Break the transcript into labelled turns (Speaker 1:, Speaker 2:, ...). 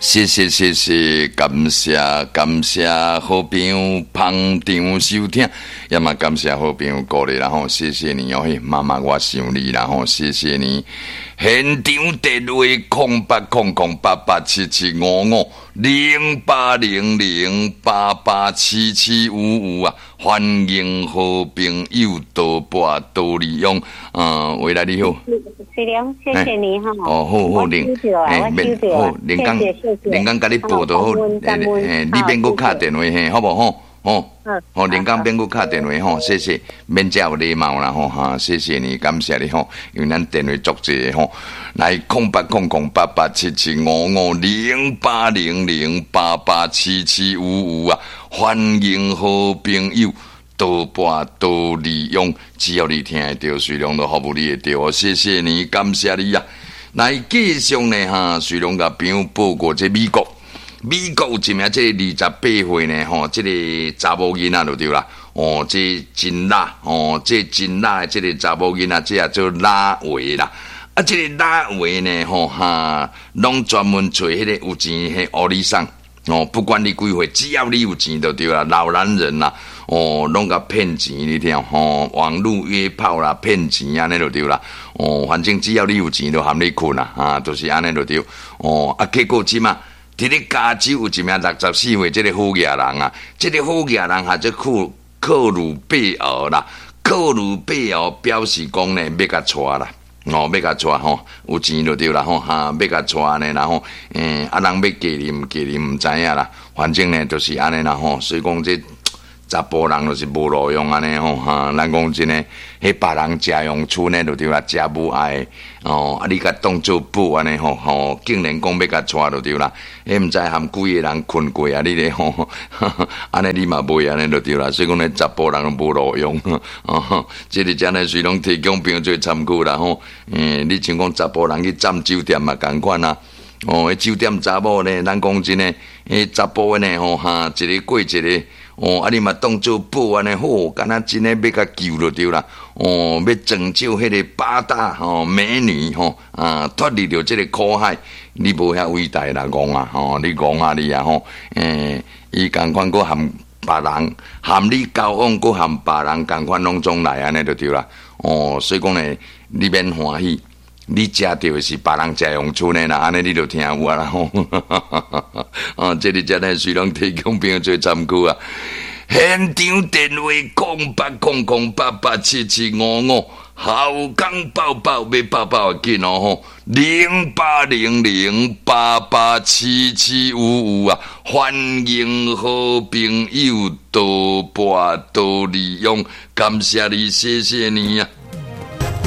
Speaker 1: 謝謝謝謝，感謝感謝好朋友捧場收聽，也嘛感謝好朋友鼓勵啦吼，謝謝你哦，嘿，媽媽我想你啦吼，謝謝你。現場電話0800887755，0800887755啊，歡迎好朋友多撥多利用。嗯，喂來你好。
Speaker 2: 水良，謝謝你哈。
Speaker 1: 哦，好好，林，
Speaker 2: 欸，
Speaker 1: 免好，林剛，林剛共你報就好，欸，你免閣敲電話嘿，好無吼？吼，好，林剛免閣敲電話吼，謝謝，免遮有禮貌啦吼，哈，謝謝你，感謝你吼，因為咱電話足濟吼，來0800887755，0800887755啊，歡迎好朋友多撥多利用，只要你聽得著，水龍都服務你會著哦，謝謝你，感謝你啊！來繼續呢哈，水龍共朋友報告這美國，美國有一名這個28歲呢吼，這個查某囡仔就對啦，哦，這真辣哦，這真辣的這個查某囡仔，這也做拉維啦，啊，這個拉維呢吼哈，攏專門揣彼個有錢彼個歐里桑哦，不管你幾歲，只要你有錢就對啦，老男人啦，哦，攏共騙錢，你聽吼，網路約炮啦，騙錢按呢就對啦，哦，反正只要你有錢，就含你睏啦，啊，就是按呢就對，哦，啊，結果這馬佇咧加州有一名64歲這個好額人啊，這個好額人號做庫克魯貝爾啦，克魯貝爾表示講呢，欲共娶啦。哦，欲共娶吼，有錢就對啦吼，哈，欲共娶按呢啦吼，欸，啊，人欲嫁你毋嫁你毋知影啦，反正呢就是按呢啦吼，所以講這查埔人就是無路用按呢吼，哈，咱講真的，彼別人食陽春的就對啦，食無愛哦，啊，你共當做寶按呢吼，吼，竟然講欲共娶就對啦，彼毋知含幾個人睏過啊，你咧吼，按呢你嘛袂按呢就對啦，所以講呢，查埔人無路用，哦，這個真的是攏提供朋友做參考啦吼，欸，你像講查埔人去佔酒店嘛仝款啊。哦，彼酒店查某呢，咱講真的，彼查埔呢吼，哈，一个過一个，哦，啊，你嘛當做寶按呢好，敢若真的欲共救就對啦，哦，欲拯救彼個八大吼美女吼，啊，脫離著這個苦海，你無遐偉大啦，戇啊，吼，你戇啊你啊吼，欸，伊仝款閣含別人，含你交往，閣含別人仝款攏總來按呢就對啦，哦，所以講呢，你免歡喜。你食著的是別人食陽春的啦，按呢你就聽有啊啦吼。哦，這個真的是攏提供朋友做參考啊。現場電話0800887755，後港抱抱欲抱抱會緊哦吼，0800887755啊，歡迎好朋友多撥多利用，感謝你，謝謝你啊。